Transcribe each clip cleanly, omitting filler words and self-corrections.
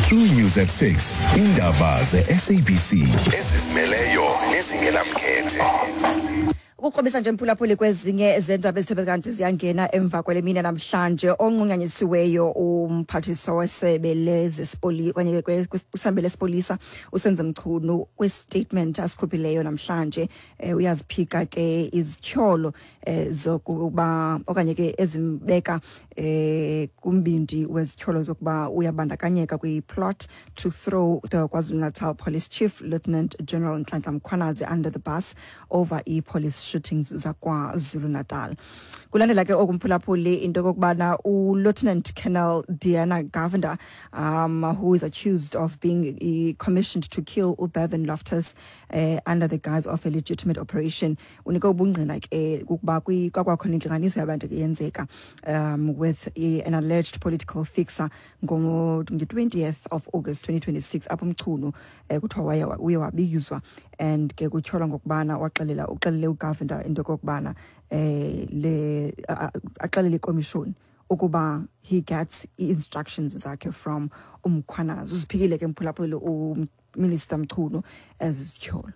True News at 6. Indaba ze-SABC ezizimeleyo nezingenamkhethe. Ukukrobisa nje mphulaphuli kwezinye zeendaba ezithe kanti ziyangena emva kwale mini namhlanje, onqunyanyisiweyo umphathiswa wesebe lezesipoli okanye kwisebe lesipolisa uSenzo Mchunu, kwistatement asikhuphileyo namhlanje, uyaziphika ke izityholo zokuba okanye ke ezimbeka kumbindi wezityholo zokuba uyabandakanyeka kwi-plot to throw the KwaZulu-Natal Police Chief, Lieutenant General Nhlanhla Mkhwanazi, under the bus over i-police shootings zakwaZulu-Natal. Kulandela ke oku, mphulaphuli, into yokokubana uLieutenant Colonel Diana Govender, who is accused of being commissioned to kill uBevan Loftus under the guise of a legitimate operation, unike ubungqina ke ukuba kwakwakhona intlanganiso yabantu yenzeka with an alleged political fixer nge-20th of August 2026, apho uMchunu kuthiwa uye wabizwa and ke kutyholwa ngokubana waxelela, uxelele uGovender into yokokubana le axelele ikomishoni ukuba he gets i-instructions zakhe from uMkhwanazi. Uziphikile ke, mphulaphuli, uMinister Mchunu ezi zityholo.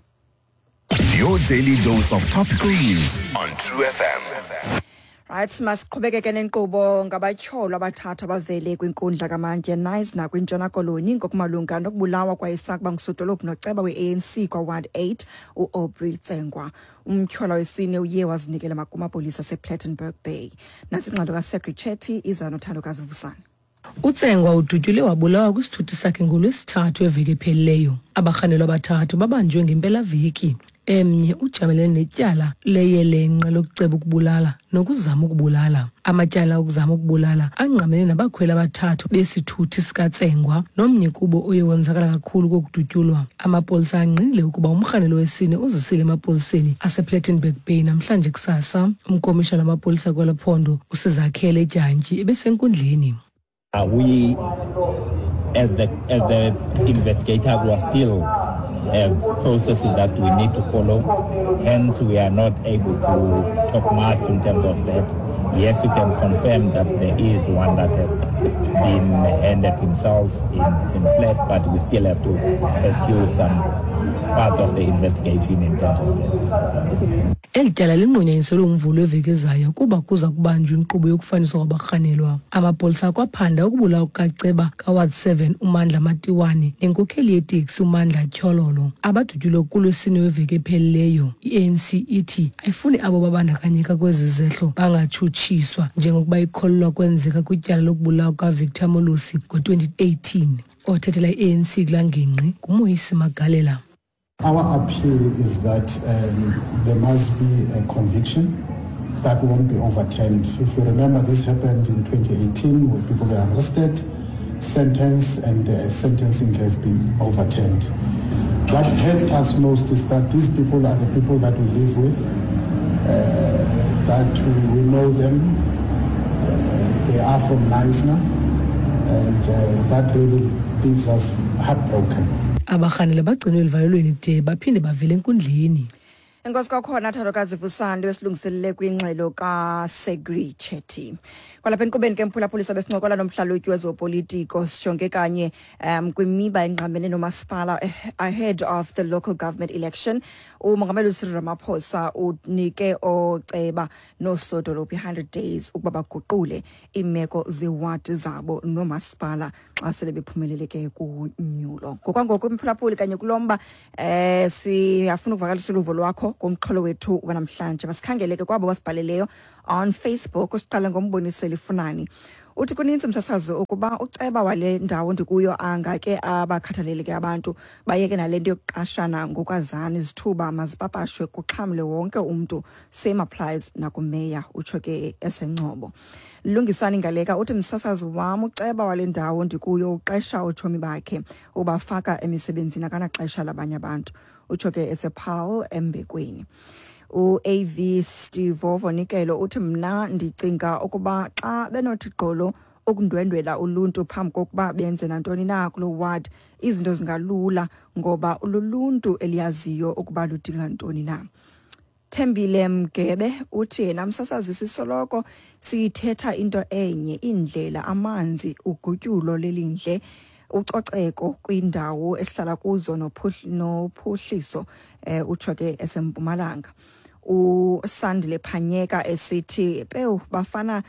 Your daily dose of topical news on True FM. Right, masiqhubekeke nenkqubo. Ngabatyholwa abathathu abavele kwinkundla kamantyi eKnysna kwiNtshona Koloni ngokumalunga nokubulawa kwayesakuba ngusodolophu noceba we-ANC kwaWard 8, uAubrey Tsengwa. Umtyholwa wesine uye wazinikela kumapolisa asePlettenberg Bay. Nantsi ingxelo kaSegri Chetty, iza noThandokazi Vusane. UTsengwa udutyulwe wabulawa kwisithuthi sakhe ngoLwesithathu eveki ephelileyo. Abarhanelwa abathathu babanjwe ngempelaveki. Emnye ujamelene netyala leyelenqe lokuceba ukubulala nokuzama ukubulala. Amatyala okuzama ukubulala angqamene nabakhweli abathathu besithuthi sikaTsengwa, nomnye kubo oye wonzakala kakhulu kokudutyulwa. Amapolisa angqinile ukuba umrhanelwa wesine uzisile emapoliseni asePlettenberg Bay namhlanje kusasa. Umkomishana wamapolisa kwelo phondo, uSizakhele Dyantyi, ebesenkundleni. We, as the investigators, we are still have processes that we need to follow. Hence, we are not able to talk much in terms of that. Yes, you can confirm that there is one that has been handed himself in Plet, but we still have to pursue some part of the investigation in terms of that. Eli tyala linqunyanyiselwe uMvulo weveki ezayo kuba kuza kubanjwa inkqubo yokufaniswa kwabarhanelwa. Amapolisa akwaphanda ukubulawa kukaceba kaWard 7 uMandla Matiwane nenkokheli yeteksi uMandla Tyhololo, abadutyulwe kuLwesine weveki ephelileyo. I-ANC ithi ayifuni abo babandakanyeka kwezi zehlo bangatshutshiswa, njengokuba ikholelwa kwenzeka kwityala lokubulawa kukaVictor Molosi ngo-2018. Othethela i-ANC kulaa ngingqi nguMoyisi Magalela. Our appeal is that there must be a conviction that won't be overturned. If you remember, this happened in 2018 where people were arrested, sentenced, and the sentencing has been overturned. What hurts us most is that these people are the people that we live with, that we know them, they are from Knysna, and that really leaves us heartbroken. Abarhanelwa bagcinwe eluvalelweni de baphinde bavele enkundleni. Enkosi kwakhona, Thandokazi Vusandi, wesilungiselele kwingxelo kaSegri Chetty. Kwalapha enkqubeni ke, mphulaphuli, besincokola nomhlalutyi wezopolitiko, sijonge kanye kwimiba engqamene nomasipala ahead of the local government election. Umongameli uCyril Ramaphosa unike ooceba noosodolophu i-100 days ukuba baguqule iimeko zewadi zabo noomasipala xa sele bephumelele ke kunyulo. Ngokwangoku, mphulaphuli, kanye kulo mba siyafuna ukuvakalisa uluvo lwakho kumxholo wethu wanamhlanje. Masikhangele ke kwabo basibhaleleyo on Facebook. Siqale ngoMboniseli Funani, uthi kuninzi, msasazi, ukuba uceba wale ndawo ndikuyo angake abakhathalele ke abantu, bayeke nale nto yokuqashana ngokwazana. Izithuba mazipapashwe, kuxhamle wonke umntu, same applies nakumeya. Utsho ke eseNgcobo. Lungisani Ngaleka uthi, msasazi wam, uceba wale ndawo ndikuyo uqesha ootshomi bakhe, ubafaka emisebenzini, akanaxesha labanye abantu. Utsho ke esePaul eMbekweni. U-AV Steve Vonikelo uthi, mna ndicinga ukuba xa benothi gqolo ukundwendwela uluntu phambi kokuba benze nantoni na kuloo ward, izinto zingalula, ngoba luluntu eliyaziyo ukuba ludinga ntoni na. Thembile Mgebe uthi yena, msasazi, sisoloko siyithetha into enye, iindlela, amanzi, ugutyulo lelindle. Ucoceko kwindawo esihlala kuzo nophuhliso, utsho ke eseMpumalanga. USandile Phanyeka esithi pewu bafana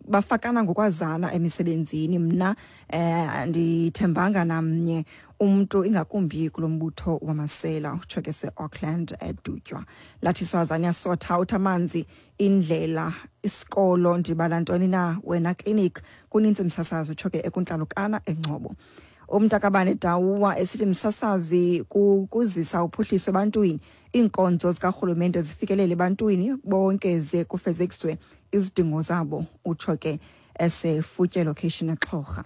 bafakana ngokwazana emisebenzini. Mna andithembanga namnye umntu, ingakumbi kulo mbutho wamasela, utsho ke se-Auckland eDutywa. Lathi Swazania sotha uthi amanzi, indlela, isikolo, ndibala ntoni na wena, clinic kunintsi msasazi, utsho ke ekuNtlalokana eNgcobo. Umntakabane Dawuwa esithi msasazi, kuzisa uphuhliso ebantwini, iinkonzo zikarhulumente zifikelele ebantwini bonke ze kufezekiswe izidingo zabo, utsho ke eseFutye location eXhorha.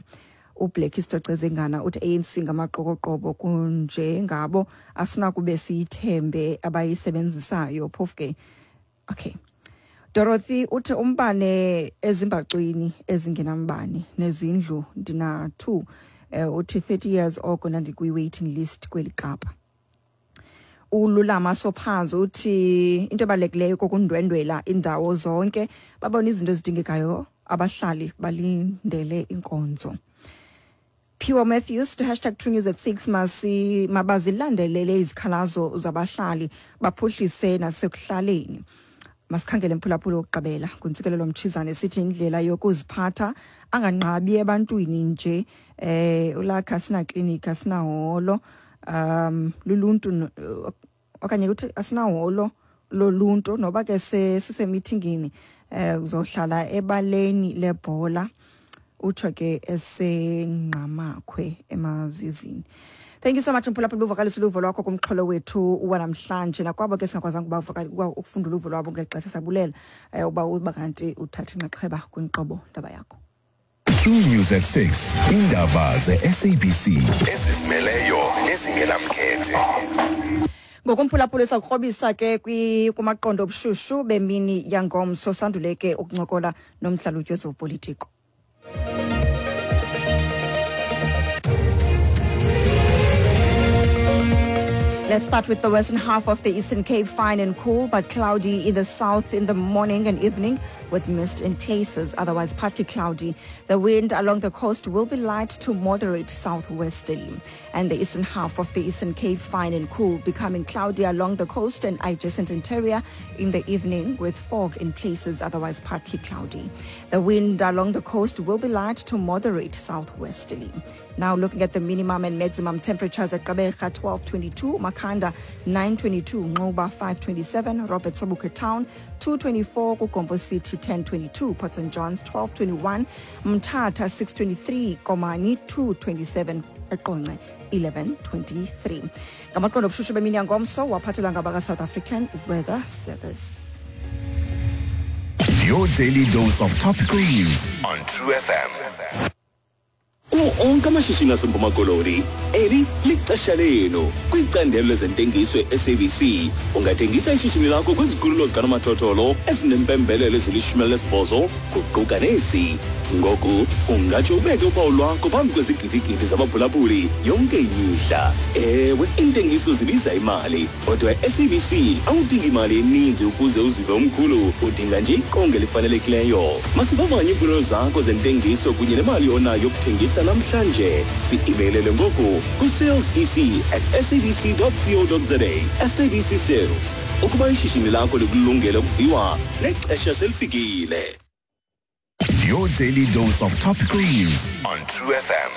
UBlack Isitocezengana uthi ANC ngamaqokoqobo, kunjengabo asinakube siyithembe abayisebenzisayo phofu ke. Okay, Dorothy uthi umbane ezimbacwini ezingenambane nezindlu ndina 2, uthi 30 years oko ndandikwi-waiting list kweli Kapa. ULulama Sophazi uthi into ebalulekileyo kokundwendwela indawo zonke, babone izinto ezidingekayo, abahlali balindele inkonzo. Phiwa Matthews to #TrueNews at 6, masi mabazilandelele izikhalazo zabahlali, baphuhlise nasekuhlaleni. Masikhangele mphulaphula wokugqibela, nguNtsikelelo Mtshizane, sithi indlela yokuziphatha anganqabi ebantwini nje, ulakha asina klinikhi, asinaholo luluntu, okanye kuthi asinaholo loluntu, noba ke sisemithingini, uzohlala ebaleni lebhola, utsho ke eseNgqamakhwe eMazizini. Thank you so much mphulaphula, buvakalisa uluvo lwakho kumxholo wethu wanamhlanje. Nakwabo ke singakwazanga ukufunda uluvo lwabo ngeli xesha, sabulela uba kanti uthatha inxaxheba kwinkqubo ndaba yakho. True News at 6. Indaba ze-SABC ezizimeleyo nezingenamkhethe. Ngokumphulaphula sakukrobisa ke kumaqondo obushushu bemini yangomso, sandule ke ukuncokola nomhlalutyi wezopolitiko. Let's start with the western half of the Eastern Cape, fine and cool, but cloudy in the south in the morning and evening with mist in places, otherwise partly cloudy. The wind along the coast will be light to moderate southwesterly. And the eastern half of the Eastern Cape, fine and cool, becoming cloudy along the coast and adjacent interior in the evening with fog in places, otherwise partly cloudy. The wind along the coast will be light to moderate southwesterly. Now looking at the minimum and maximum temperatures at Gqeberha 1222, Makhanda 922, Nxuba 527, Robert Sobukwe Town 224, KuGompo City 1022, Port St Johns 1221, Mthatha 623, Komani 227, eQonce 1123. Ngamaqondo obushushu bemini yangomso waphathelwa ngabaka-South African Weather Service. Your daily dose of topical news on True FM. Kuwo onke amashishini aseMpuma Koloni, eli lixesha lenu kwicandelo lezentengiso e-SABC. Ungathengisa ishishini lakho kwizikhululo zikanomathotholo ezinempembelelo ezili-18, kuquka nezi. Ngoku ungatsho ubeke uphawu lwakho phambi kwezigidigidi zabaphulaphuli yonke imihla. Ewe, iintengiso zibiza imali, kodwa e-SABC awudingi imali eninzi ukuze uzive umkhulu, udinga nje iqonga elifanelekileyo. Masivavanye iimfuno zakho zentengiso kunye nemali onayo yokuthengisa namhlanje. Si-imeylele ngoku ku-salesec@sabc co za. SABC Sales, ukuba ishishini lakho likulungele ukuviwa, nexesha selifikile. Your daily dose of topical news on True FM.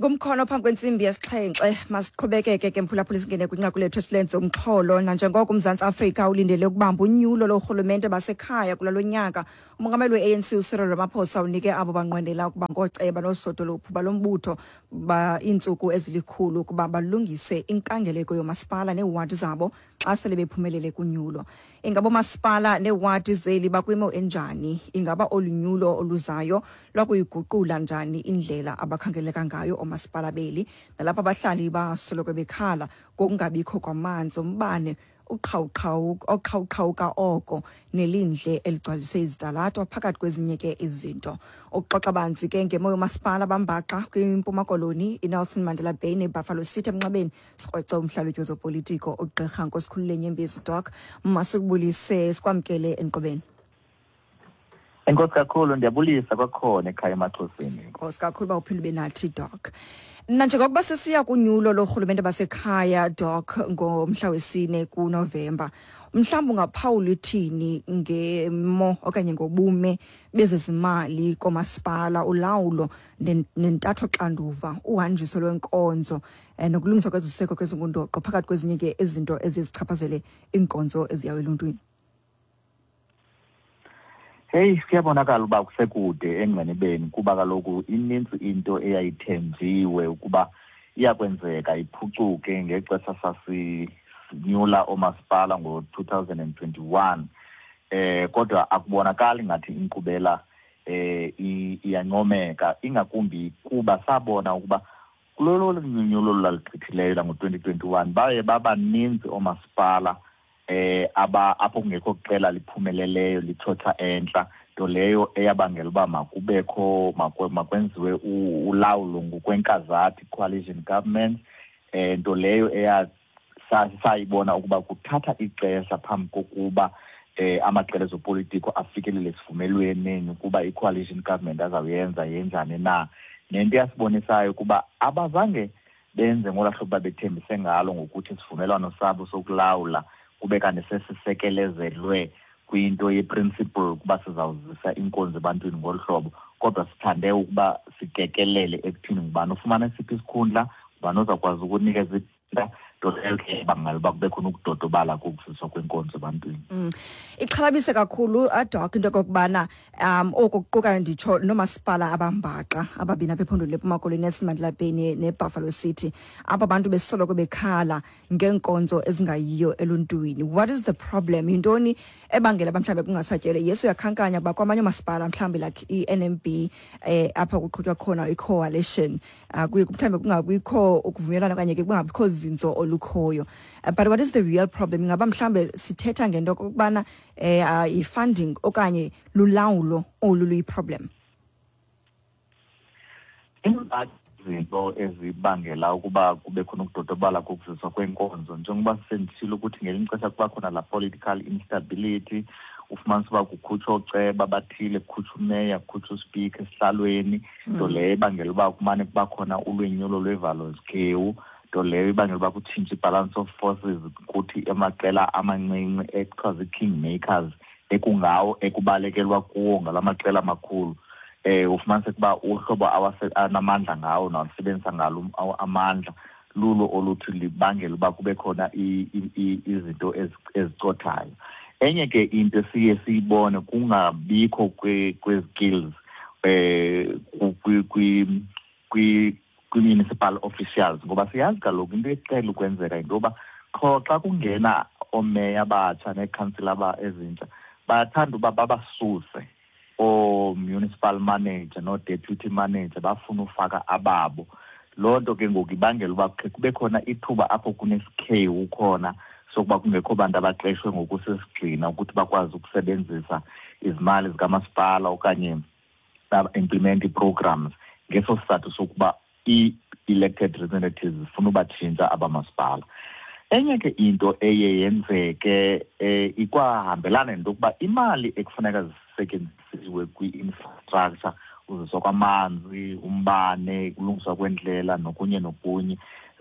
Ngumkhono phambi kwentsimbi yesixhenxe, masiqhubekeke ke mphulaphula, singene kwinqaku lethu esilenze umxholo. Nanjengoko uMzantsi Afrika ulindele ukubamba unyulo loorhulumente basekhaya kula lo nyaka, umongameli we-ANC uCyril Ramaphosa unike abo banqwenela ukuba ngooceba noosodolophu balo mbutho ba iintsuku ezilikhulu ukuba balungise inkangeleko yomasipala neewadi zabo xa sele bephumelele kunyulo. Ingaba oomasipala neewadi zeli bakwimo enjani? Ingaba olu nyulo oluzayo lwakuyiguqula njani indlela abakhangeleka ngayo oomasipala beli, nalapho abahlali basoloko bekhala ngokungabikho kwamanzi, umbane uqhawuqhawu oqhawuqhawuka oko, nelindle eligcwalise izitalato, phakathi kwezinye ke izinto? Ukuxoxa banzi ke ngemo yomasipala bambaxa kwiMpuma Koloni, iNelson Mandela Bay neBuffalo City emnxebeni, sikrwece umhlalutyi wezopolitiko uGqirha Nkosikhulule Nyembezi. Doc, masikubulise, sikwamkele enkqubeni. Enkosi kakhulu, ndiyabulisa kwakhona ekhaya emaXhoseni. Nkosi kakhulu uba uphinde ube nathi, Doc. Nanjengokuba sesiya kunyulo lorhulumente basekhaya, Doc, ngomhla wesine kuNovemba, mhlawumbi ungaphawula ithini ngemo okanye ngobume bezezimali komasipala, ulawulo nentatho xanduva, uhanjiso lwenkonzo nokulungiswa kweziseko kwezingundoqo phakathi kwezinye ke izinto eziye zichaphazele iinkonzo eziyayo eluntwini? Heyi, kuyabonakala uba kusekude engqinibeni, kuba kaloku inintsi into eyayithenjiwe ukuba iyakwenzeka iphucuke ngexesha sasinyula oomasipala ngo-2021. Kodwa akubonakali ngathi inkqubela iyancomeka, ingakumbi kuba sabona ukuba kulolo nyulo lwaligqithileyo lango-2021 baye babaninzi oomasipala aba apho kungekho qela liphumeleleyo lithotha entla, nto leyo eyabangela uba makubekho makwenziwe ulawulo ngokwenkazathi, coalition government, nto leyo eya sayibona ukuba kuthatha ixesha phambi kokuba amaqela ezopolitiko afikelele esivumelweneni ukuba i-coalition government azawuyenza yenjani na. Nento eyasibonisayo ukuba abazange benze ngolaa hlobo babethembise ngalo ngokuthi isivumelwano sabo sokulawula kube kanti sesisekelezelwe kwinto ye-principle ukuba sizawuzisa inkonzo ebantwini ngolu hlobo, kodwa sithande ukuba sikekelele ekuthini ngubani ufumana esiphi isikhundla, ngubani ozawukwazi ukunikeza nto leyo ke ibangela uba kube khona ukudodobala kokuziswa kwenkonzo ebantwini. Ixhalabise kakhulu, aDoc, into yokokubana oku kuquka nditsho noomasipala abambaxa ababini apha ephondweni leMpuma Koloni, Nelson Mandela Bay neBuffalo City, apho abantu besoloko bekhala ngeenkonzo ezingayiyo eluntwini. What is the problem? Yintoni ebangela uba mhlawumbi kungasatyelwe? Yesu uyakhankanya uba kwamanye oomasipala mhlawumbi like i-NMB, apha kuqhutywa khona i-coalition, kuye mhlawumbi kungabikho ukuvumelana okanye ke kungabikho zinzo olukhoyo. But what is the real problem? Ingaba mhlawumbe sithetha ngento okokubana yi-funding okanye lulawulo olu luyi-problem? Izinto ezibangela ukuba kube khona ukudodobala kokuziswa kwenkonzo, njengoba senditshilo ukuthi ngelinye ixesha kuba khona la political instability, ufumanisa uba kukhutshwa ooceba abathile, kukhutshwa umeya, kukhutshwa uspika esihlalweni, nto leyo ibangela uba kumane kuba khona ulwenyulo lwevalo zikhewu, nto leyo ibangela uba kutshintshe i-balance of forces, kuthi amaqela amancinci ekuthiwa zii-king makers ekungawo ekubalekelwa kuwo ngala maqela amakhulu, ufumaniseke uba uhlobo anamandla ngawo nawasebenzisa ngalo amandla lulo oluthi libangela uba kube khona izinto ezicothayo. Enye ke into esiye siyibone kungabikho kwezi-skills kwi-municipal officials, ngoba siyazi kaloku into ecela ukwenzeka yinto yoba qho xa kungena oomeya abatsha neekhansila ezintsha, bayathanda uba babasuse oo-municipal manager noo-deputy manager, bafuna ufaka ababo. Loo nto ke ngoku ibangela uba khe kube khona ithuba apho kunesikhewu khona sokuba kungekho bantu abaqeshwe ngokusesigxina ukuthi bakwazi ukusebenzisa izimali zikamasipala okanye ba-implement ii-programs, ngeso sizathu sokuba ii-elected representatives zifuna ubatshintsha abamasipala. Enye ke into eye yenzeke, ikwahambelana nento yokuba imali ekufuneka zisetyenzisiwe kwi-infrastructure, uziswa kwamanzi, umbane, ukulungiswa kwendlela nokunye nokunye,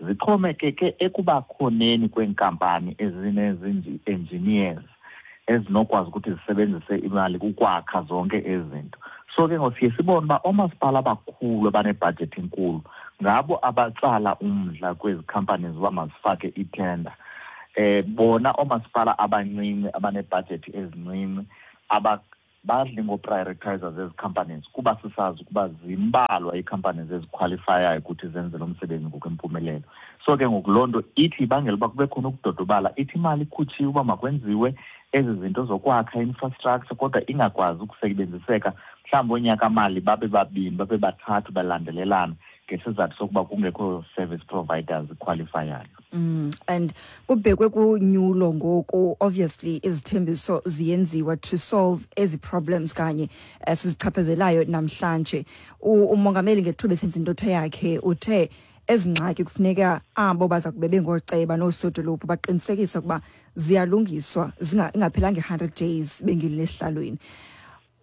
zixhomekeke ekubakhoneni kweenkampani ezinezi-engineers ezinokwazi ukuthi zisebenzise imali ukwakha zonke ezi zinto. So ke ngoku siye sibone uba oomasipala abakhulu abanebhajethi enkulu ngabo abatsala umdla kwezi companies uba mazifake ithenda. Bona oomasipala abancinci abanebhajethi ezincinci badli ngoprioritize zezi companies, kuba sisazi ukuba zimbalwa ii-companies ezikhwalifayayo ukuthi zenze lo msebenzi ngokwempumelelo. So ke ngoku loo nto ithi ibangela uba kube khona ukudodobala, ithi imali ikhutshiwe uba makwenziwe ezi zinto zokwakha infrastructure, kodwa ingakwazi ukusebenziseka mhlawumbi oonyaka-mali babe babini, babe bathathu balandelelana, ngesizathu sokuba kungekho service providers qualifiyayo. And kubhekwe kunyulo ngoku, obviously izithembiso ziyenziwa to solve ezi problems kanye sizichaphazelayo namhlanje. Umongameli ngethuba esenza intetho yakhe uthe ezi ngxaki kufuneka abo baza kube bengooceba noosodolophu baqinisekise ukuba ziyalungiswa ingaphelanga i-100 days bengenile esihlalweni.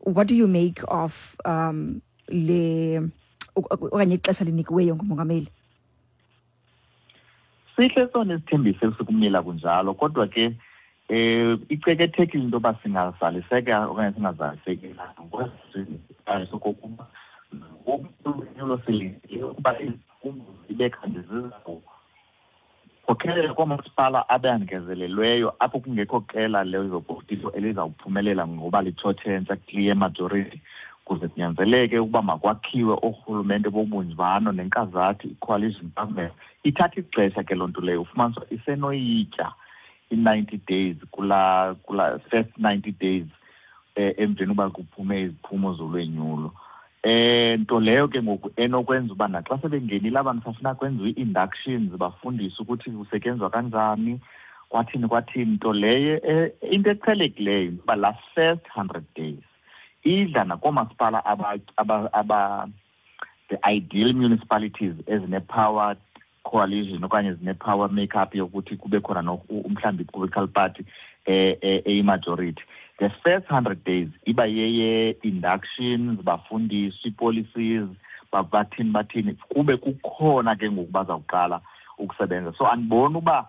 What do you make of le okanye ixesha linikiweyo ngumongameli? Sihle sona isithembiso esikumila kunjalo, kodwa ke icekethekile into yoba singazaliseka okanye singazaliseki sokokuba ngokunyulo silindele ukuba iziphumo zibe kanti zizawukhokhelela koomasipala abangezelelweyo apho kungekho qela lezopolitiko elizawuphumelela ngoba litshotshentsha clear majority, kuze kunyanzeleke ukuba makwakhiwe oorhulumente bobunjano nenkazathi, i-coalition government. Ithatha ixesha ke loo nto leyo, ufumanisa isenoyitya i-90 days kula first 90 days emveni uba kuphume iziphumo zolwenyulo. Nto leyo ke ngoku enokwenza uba naxa sebengenile abantu safuna kwenziwe ii-inductions, bafundiswe ukuthi kusetyenzwa kanjani, kwathini kwathini. Nto leyo into eqhelekileyo uba laa first 100 days idla nakoomasipala aba the ideal municipalities ezine-power coalition okanye zine-power makeup yokuthi kube khona mhlawumbi i-political party eyi-majority. The first 100 days iba yeye-inductions, bafundiswe ii-policies, bathini bathini, kube kukhona ke ngoku bazawuqala ukusebenza. So andiboni uba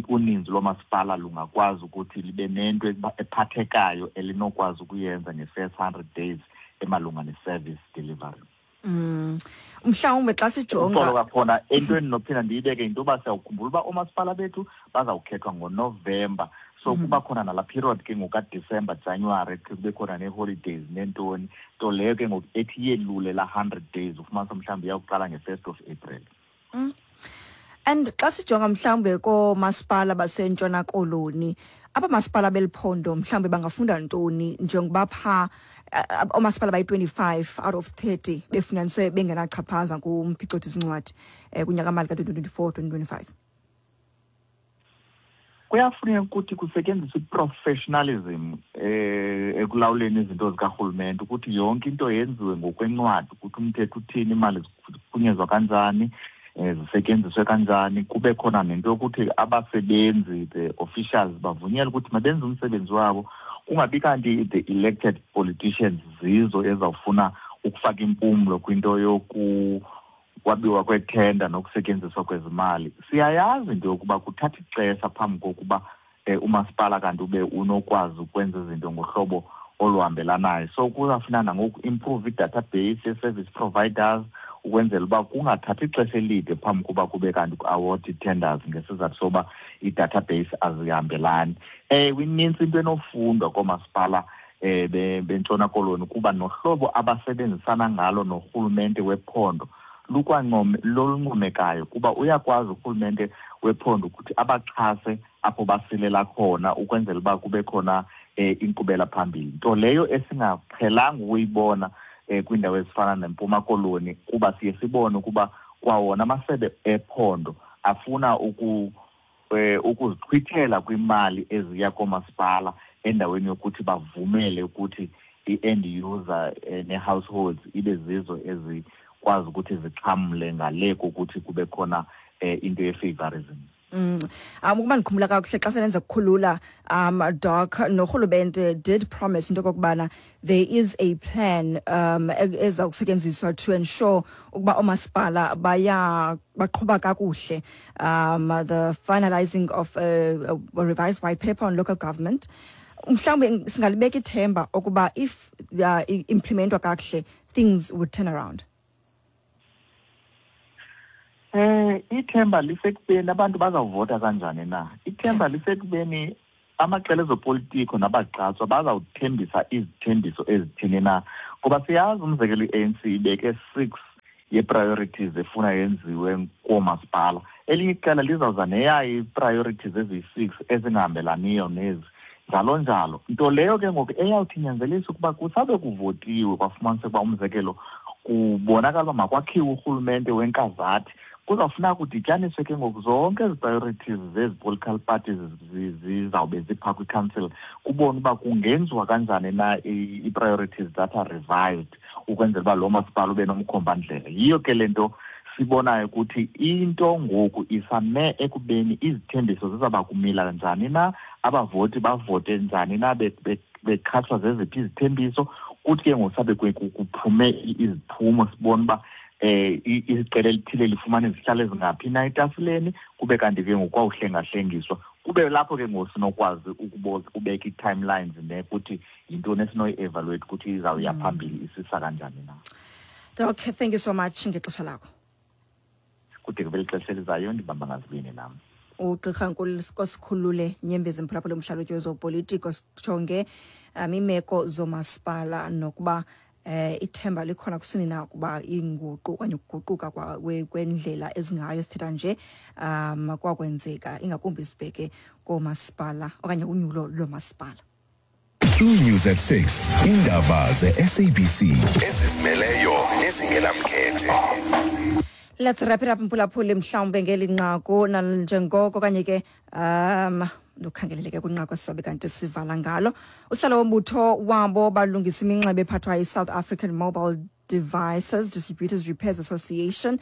uninzi loomasipala lungakwazi ukuthi libe nento ephathekayo elinokwazi ukuyenza nge-first 100 days emalunga ne-service delivery. Mhlawumbe xa sijonga Uxolo kakhona, entweni nophinda ndiyibeke yinto yoba siyawukhumbula uba oomasipala bethu bazawukhethwa ngoNovemba, so kuba khona nalaa period ke ngokaDisemba, January, khe kube khona nee-holidays neentoni, nto leyo ke ngoku ethi yelule laa 100 days, ufumanisa mhlawumbi iyawuqala nge-1st of April. And xa sijonga mhlawumbe koomasipala baseNtshona Koloni, aba masipala beliphondo mhlawumbe bangafunda ntoni, njengoba phaa oomasipala bayi-25 out of 30 befunyaniswe bengenachaphaza kumphicothi zincwadi kunyakamali ka-2024 2025? Kuyafuneka ukuthi kusetyenziswe i-professionalism ekulawuleni izinto zikarhulumente, ukuthi yonke into yenziwe ngokwencwadi, ukuthi umthetho uthini, imali ziphunyezwa kanjani, zisetyenziswe kanjani. Kube khona nento yokuthi abasebenzi, the officials, bavunyelwe ukuthi mabenze umsebenzi wabo, kungabi kanti the elected politicians zizo ezawufuna ukufaka impumlo kwinto yoku kwabiwa kwethenda nokusetyenziswa kwezimali. Siyayazi into yokuba kuthatha ixesha phambi kokuba umasipala kanti ube unokwazi ukwenza izinto ngohlobo oluhambelanayo, so kuzawufuna nangoku improve i-database ye-service providers ukwenzela uba kungathathi ixesha elide phambi koba kube kanti ku-award ii-tenders ngesizathu soba i-database azihambelani. Ewe, inintsi into enofundwa koomasipala beNtshona Koloni, kuba nohlobo abasebenzisana ngalo norhulumente wephondo lukwancome loluncomekayo, kuba uyakwazi urhulumente wephondo ukuthi abaxhase apho basilela khona ukwenzela uba kube khona inkqubela phambili, nto leyo esingaqhelanga ukuyibona kwiindawo ezifana neMpuma Koloni, kuba siye sibone ukuba kwawona amasebe ephondo afuna ukuzixhwithela kwimali eziya koomasipala endaweni yokuthi bavumele ukuthi i-end user nee-households ibe zizo ezikwazi ukuthi zixhamle ngale kokuthi kube khona into ye-favorism. Ukuba ndikhumbula kakuhle, xa selenza kukhulula, Doc, norhulumente did promise into okokubana there is a plan eza kusetyenziswa to ensure ukuba oomasipala baya baqhuba kakuhle, the finalizing of a revised white paper on local government. Mhlawumbe singalibeka ithemba ukuba if implementwa kakuhle, things would turn around. Ithemba lisekubeni abantu bazawuvota kanjani na. Ithemba lisekubeni amaqela ezopolitiko nabagqatswa bazawuthembisa izithembiso ezithini na. Kuba siyazi, umzekelo, i-ANC ibeke 6 ye-priorities efuna yenziwe koomasipala. Elinye iqela lizawuza neyayo ii-priorities eziyi-6 ezingahambelaniyo nezi, njalo njalo. Nto leyo ke ngoku eyawuthi inyanzelise ukuba kusabe kuvotiwe kwafumaniseka uba, umzekelo, kubonakala uba makwakhiwe urhulumente wenkazathi, kuzawufuneka kudityaniswe ke ngoku zonke ezi priorities zezi political parties zizawube ziphaa kwi-council, kubone uba kungenziwa kanjani na ii-priorities that are revised ukwenzela uba lo masipala ube nomkhombandlela. Yiyo ke le nto sibonayo ukuthi into ngoku isame ekubeni izithembiso zizawuba kumila njani na, abavoti bavote njani na, bekhathwa zeziphi izithembiso. Kuthi ke ngoku sabe kuphume iziphumo, sibone uba iqela elithile lifumana izihlalo ezingaphi na etafileni, kube kanti ke ngoku kwawuhlengahlengiswa, kube lapho ke ngoku sinokwazi ukubeka ii-timelines nekuthi yintoni esinoyi-evaluate ukuthi izawuya phambili isisa kanjani na. Doc, thank you so much ngexesha lakho. Kude kube lixesha elizayo, ndibamba ngazibini nam. Ugqirha Nkosikhulule Nyembezi, mphulaphula, umhlalutyi wezopolitiko. Sijonge imeko zomasipala nokuba ithemba likhona kusini na ukuba inguqu okanye ukuguquka kwendlela ezingayo sithetha nje kwakwenzeka, ingakumbi sibheke koomasipala okanye unyulo loomasipala. True News at 6. Indaba ze-SABC ezizimeleyo nezingenamkhethe. Let's wrap it up, mphulaphuli, mhlawumbe ngeli nqaku njengoko okanye ke ndikhangeleleke kwinqaku esisabe kanti sivala ngalo. Usihlalo wombutho wabo balungisa iminxeba ephathwa yi-South African Mobile Devices Distributors Repairs Association,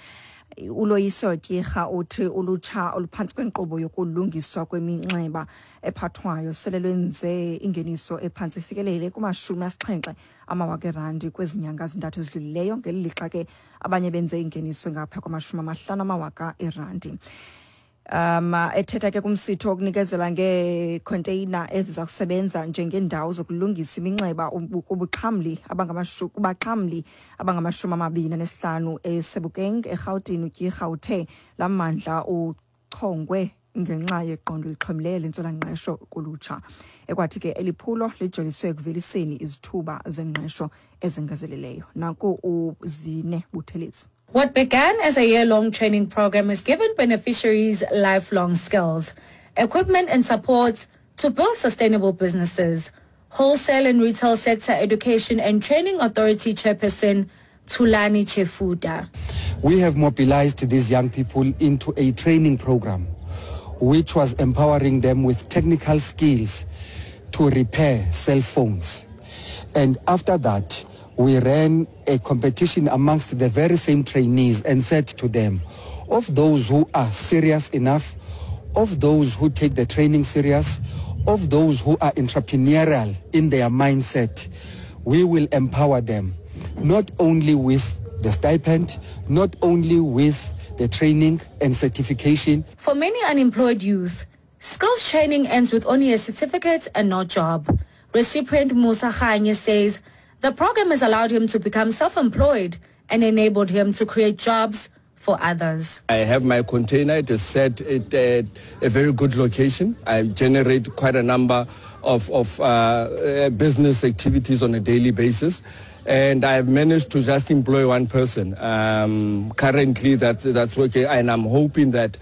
uLoyiso Tyirha, uthi ulutsha oluphantsi kwenkqubo yokulungiswa kweminxeba ephathwayo sele lwenze ingeniso ephantsi ifikelele kuma-70 amawaka erandi kwezi nyanga zintathu ezidlulileyo, ngeli lixa ke abanye benze ingeniso engapha kwama-50 amawaka erandi. Ethetha ke kumsitho wokunikezela ngeekhonteyina eziza kusebenza njengeendawo zokulungisa iminxeba kubuxhamli kubaxhamli abangama-25 eSebokeng eRhawutini, uTyirha uthe laa mmandla uchongwe ngenxa yeqondo elixhomileyo lentswelangqesho kulutsha, ekwathi ke eli phulo lijoliswe ekuveliseni izithuba zengqesho ezengezeleleyo. Naku uZine Buthelezi. What began as a year-long training program has given beneficiaries lifelong skills, equipment and support to build sustainable businesses. Wholesale and Retail Sector Education and Training Authority Chairperson Tulani Chefuda. We have mobilized these young people into a training program which was empowering them with technical skills to repair cell phones. And after that, we ran a competition amongst the very same trainees and said to them, of those who are serious enough, of those who take the training serious, of those who are entrepreneurial in their mindset, we will empower them, not only with the stipend, not only with the training and certification. For many unemployed youth, skills training ends with only a certificate and no job. Recipient Musa Khanye says the program has allowed him to become self-employed and enabled him to create jobs for others. I have my container. It is set at a very good location. I generate quite a number of business activities on a daily basis. And I've managed to just employ one person. Currently, that's okay. And I'm hoping that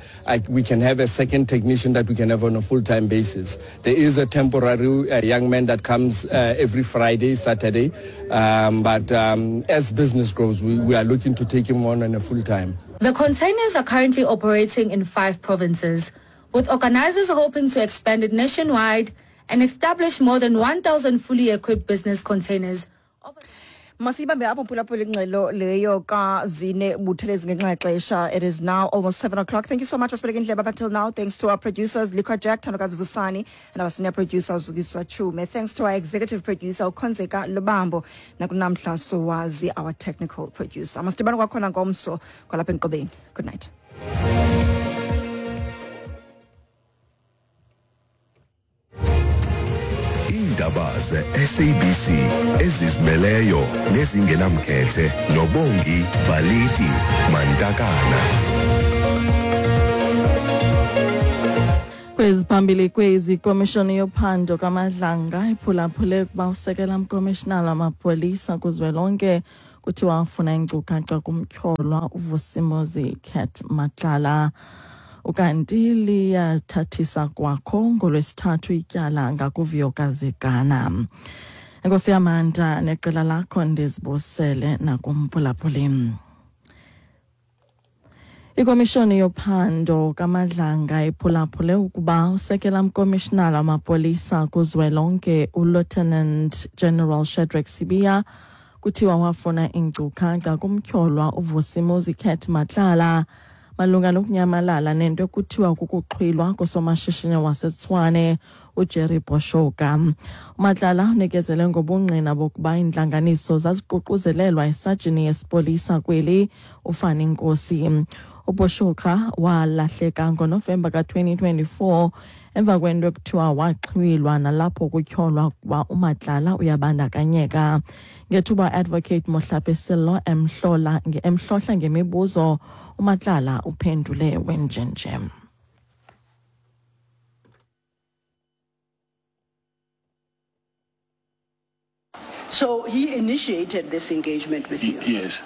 we can have a second technician that we can have on a full-time basis. There is a temporary young man that comes every Friday, Saturday. But as business grows, we are looking to take him on a full-time. The containers are currently operating in 5 provinces, with organizers hoping to expand it nationwide and establish more than 1,000 fully equipped business containers. Masibambe apho, mphulaphula, ingxelo leyo kaZine Buthelezi ngenxa yexesha. It is now almost 7 o'clock. Thank you so much for indlebe up until now. Thanks to our producers Likwa Jack, Thandokazi Vusani, and our senior producer Zukiswa Chume. Thanks to our executive producer uKhonzeka Lubambo, nakuNamhla Sowazi, our technical producer. Masidibane kwakhona ngomso kwalapha enkqubeni. Good night. Iindaba ze-SABC ezizimeleyo nezingenamkhethe noBongi Baliti Mantakana. Kweziphambili kwezi: Komishoni yophando kaMadlanga iphulaphule ukuba usekela mkomishinala wamapolisa kuzwelonke kuthiwa afuna iinkcukacha kumtyholwa uVusimuzi Cat Matlala. Ukanti liyathathisa kwakho ngoLwesithathu ityala ngakuVuyokazi Gana. Enkosi yamandla neqela lakho, ndizibusele nakumphulaphuli. Ikomishoni yophando kaMadlanga iphulaphule ukuba usekela mkomishinala wamapolisa kuzwelonke uLieutenant General Shadrack Sibiya kuthiwa wafuna iinkcukacha kumtyholwa uVusimuzi Cat Matlala. malunga nokunyamalala nento ekuthiwa kukuxhwilwa kosomashishini waseTshwane uJerry Boshoga. UMatlala unikezele ngobungqina bokuba iintlanganiso zaziququzelelwa isajini yesipolisa kweli uFani Nkosi. UBoshoga walahleka ngoNovemba ka-2024 emva kwento ekuthiwa waxhwilwa nalapho kutyholwa ukuba uMatlala uyabandakanyeka. Ngethuba Advocate Mohlape Sello emhlohla ngemibuzo, uMatlala uphendule wenjenje. So he initiated this engagement with you? Yes.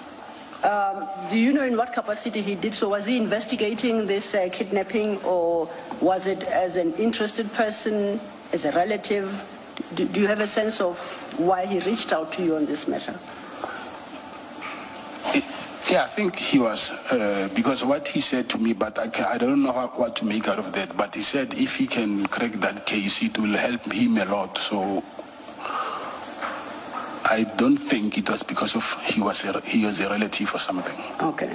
Do you know in what capacity he did so? Was he investigating this kidnapping, or was it as an interested person, as a relative? Do you have a sense of why he reached out to you on this matter? Yeah, I think he was, because what he said to me, but I don't know what to make out of that, but he said if he can crack that case, it will help him a lot. So I don't think it was because of he was a relative or something. Okay.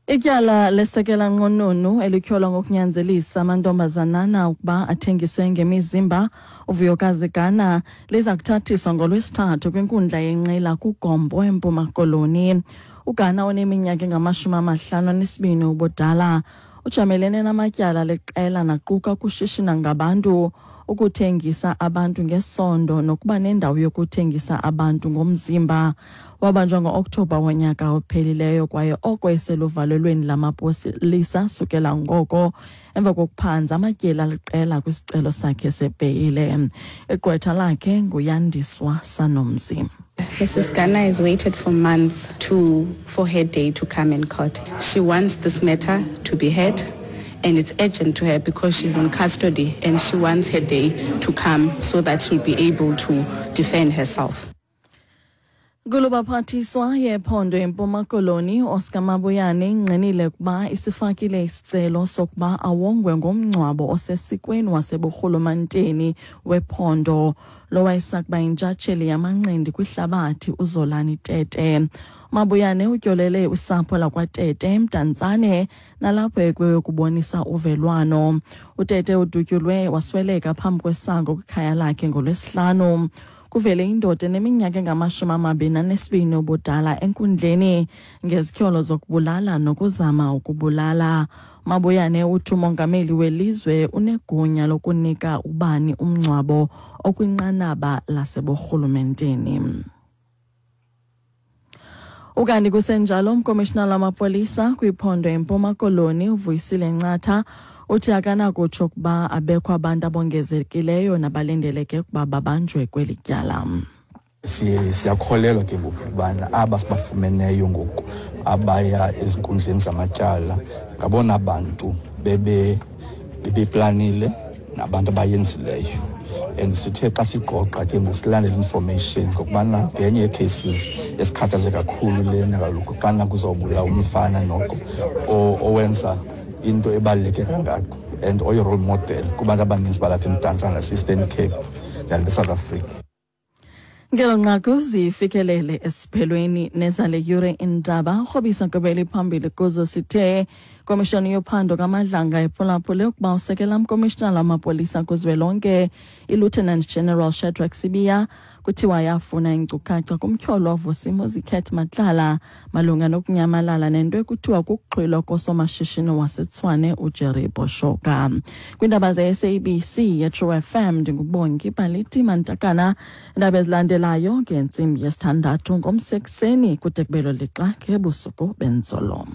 Ityala lesekela nqununu elityholwa ngokunyanzelisa amantombazanana ukuba athengise ngemizimba uVuyokazi Gana liza kuthathiswa ngoLwesithathu kwinkundla yenqila kuGompo eMpuma Koloni. uGana oneminyaka engama-52 ubudala ujamelene namatyala leqela naquka ukushishina ngabantu, ukuthengisa abantu ngesondo nokuba nendawo yokuthengisa abantu ngomzimba. Wabanjwa ngo-Okthobha wonyaka ophelileyo kwaye oko eseluvalelweni lamapolisa sukela ngoko emva kokuphanza amatyeli aliqela kwisicelo sakhe sebheyile. Igqwetha lakhe nguYandiswa Sanomzi. Mrs. Gana has waited for months for her day to come in court. She wants this matter to be heard, and it's urgent to her because she's in custody and she wants her day to come so that she'll be able to defend herself. Kulubaphathiswa yephondo eMpuma Koloni Oscar Mabuyane ingqinile ukuba isifakile isicelo sokuba awongwe ngomngcwabo osesikweni waseburhulumenteni wephondo lowayesakuba yintshatsheli yamanqindi kwihlabathi uZolani Tete. Mabuyane utyolele usapho lakwaTete eMdantsane nalapho ekuyokubonisa uvelwano. UTete udutyulwe wasweleka phambi kwesango kwikhaya lakhe ngoLwesihlanu. Kuvele indoda eneminyaka engama-22 ubudala enkundleni ngezityholo zokubulala nokuzama ukubulala. Mabuyane uthi umongameli welizwe unegunya lokunika ubani umngcwabo okwinqanaba laseburhulumenteni. Ukanti kusenjalo, umkomishinala wamapolisa kwiphondo eMpuma Koloni uVuyisile Ncatha uthi akanakutsho ukuba abekho abantu abongezekileyo nabalindeleke ukuba babanjwe kweli tyala. Siyakholelwa ke ngoku ukubana aba sibafumeneyo ngoku abaya ezinkundleni zamatyala ngabona bantu bebeplanile nabantu abayenzileyo. And sithe xa sigqogqa ke ngoku silandela information ngokubana ngenye yee-cases esikhathaze kakhulu lena kaloku xana kuzawubulawa umfana noko owenza into ebaluleke kangako and oyi-role model kubantu abaninzi balapha eMdantsane nase-Eastern Cape nalapha eSouth Africa. Ngelo nqaku zifikelele esiphelweni nezale yure indaba. Urhobisa nkqubela phambili kuzo sithe komishoni yophando kaMadlanga iphulaphule ukuba usekela mkomishinala wamapolisa kuzwelonke iLieutenant General Shadrack Sibiya kuthiwa yafuna inkcukacha kumtyholwa Vusimuzi Cat Matlala malunga nokunyamalala nento ekuthiwa kukuxhwilwa kosomashishini waseTshwane uJerry Boshoga. Kwiindaba ze-SABC yeTrue FM ndinguBongi Baliti Mantakana. Iindaba ezilandelayo ngentsimbi yesithandathu ngomsekuseni kude kubelo lixa ngebusuku benzolo.